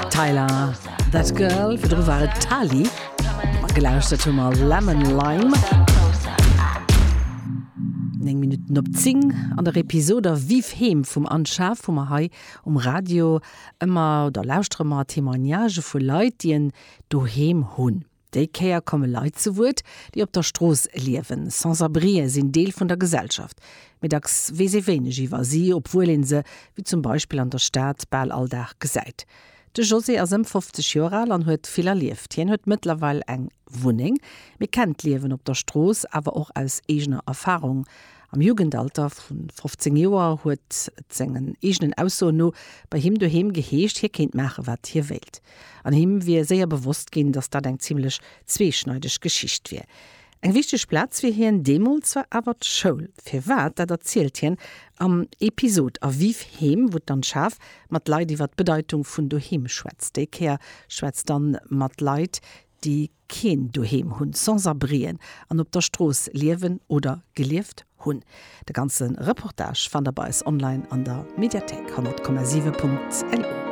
Tyler, That Girl, virdru war et Tali. Gelauschtert hu mer Lemon Lime. 9 Minutten op 10 an der Episode Vive Heem vum Anne Schaaf hu mer hei um Radio ëmmer oder lauschtere mer Témoignagë vu Leit, déi en Doheem hunn. Déi Kéier komme Leit zu Wuert, déi op der Strooss liewen. Sans-abrien sinn Deel vun der Gesellschaft. Mee dacks weess ee wéineg iwwer si, obwuel ee se, wéi zum Beispill an der Stad, bal all Dag gesäit. De José ass ëm 50 Joer al an huet vill erlieft. Hien huet mëttlerweil eng Wunneng, mee kennt d'Liewen op der Strooss awer och aus eegener Erfarung. Am Jugendalter vu 15 Joer huet et sengen eegenen Aussoen no bei him doheem geheescht, hie kéint maache wat hie wéilt. An him wier séier bewosst ginn, datt dat eng zimmlech zweeschneideg Geschicht wier. Eng wichteg Plaz fir hien deemools war awer d'Schoul. Firwat, dat erzielt hien am Episod A Vive Heem, wou d'Anne Schaaf mat Leit iwwer d'Bedeitung vun Doheem schwätzt. Déi Kéier schwätzt d'Anne mat Leit, déi keen Doheem hunn, Sans-abrien, an op der Strooss liewen oder gelieft hunn. De ganze Reportage fannt der bei eis online an der Mediathéik 100,7.lu.